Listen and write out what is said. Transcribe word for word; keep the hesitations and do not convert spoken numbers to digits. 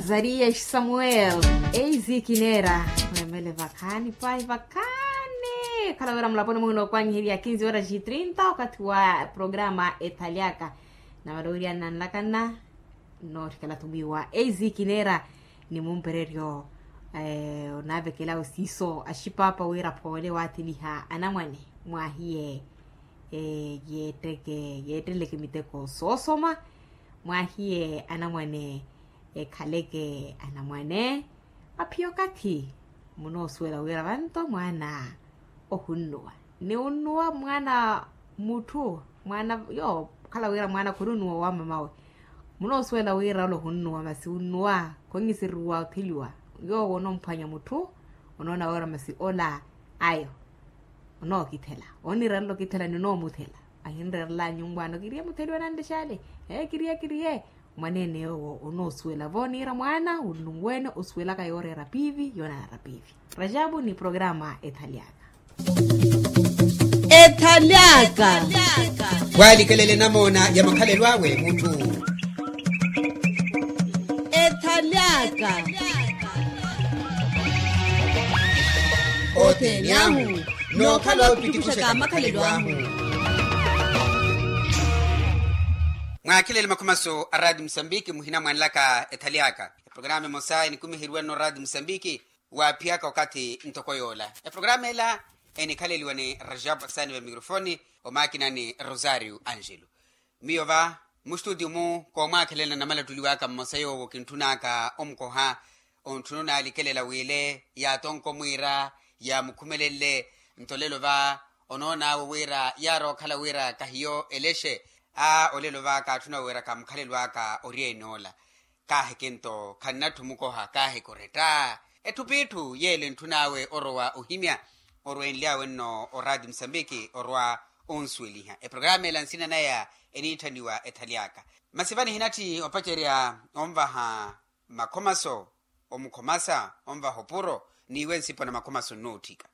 Zarias samuel. Eisi kineera. Mwemele vakhaani pahi vakhaani. Khala wira mulaponi muhina okwanyiherya kinzi wira xitrinta okathi wa programa ethalyaka. Navalowerya nanlakana nootthikela thumwiwa eisi kineera. Ni mumpereryo onaavekela osiiso axipapa wira phoole waatheliha anamwane. Mwahiye yeetteke yeetteleke miteko soosoma. Mwahiye anamwane ekhaleke anamwane. Aphiya okathi munoosuwela wira vanto mwaana ohunnuwa ni unnuwa mwaana mutthu mwaana yoowo okhala wira mwaana khununnuwa wa mamawe. Munoosuwela wira ola ohunnuwa masi unnuwa khonhiseriwa otheliwa. Yoowo onomphwanya mutthu onoona wira masi ola ayo onookithela onirerela okithela ni onoomuthela. Ahinrerela nyumpwaano kiriye mutheliwa nanlexale. Ee kiriye kiriye. Mwaneene yoowo onoosuwela vo niira mwaana unlunweene osuwelaka yooreera piivi yoonareera piivi. Rajabu ni programa ethalyaka. Ethalyaka. Waalikelele namoona ya makhalelo awe mutthu. Ethalyaka. Othene ahu nookhala opitikuxaka makhalelo ahu. Mwaakhelele makhomaso a raati musambiki muhina mwanlaka ethalyaka. Eprograma emosa enikumiheriwa nno raati musambiki waaphiyaka okathi ntoko yoola. Eprograma ela enikhaleliwa ni rajabu asaani va mikrofoni omaakina ni rosario angelo. Miyo va mustutio-mu koomwaakhelelana namalattuliwaka mmosa yoowo kintthunaka omukoha. Ontthuna onaalikelela wiile yaatonko mwiira yaamukhumelenle. Nto olelo va onoon'awe wira yaarookhala wira kahiyo elexe. Aa olelo va kaatthuna wira kamukhalelo aka ori ene ola. Kaahikento khannatthu mukoha kaahika oretta. Etthu p'itthu yeelo entthun'awe orowa ohimya. Orweenly'awe nno oraati musambiki orwa onsuweliha eprograma ela nsina naya eniitthaniwa ethaly'aka. Masi va nihinatthi opacerya onvaha makhomaso omukhomasa onvaha opuro n'iwe nsipo na makhomaso nnootthika.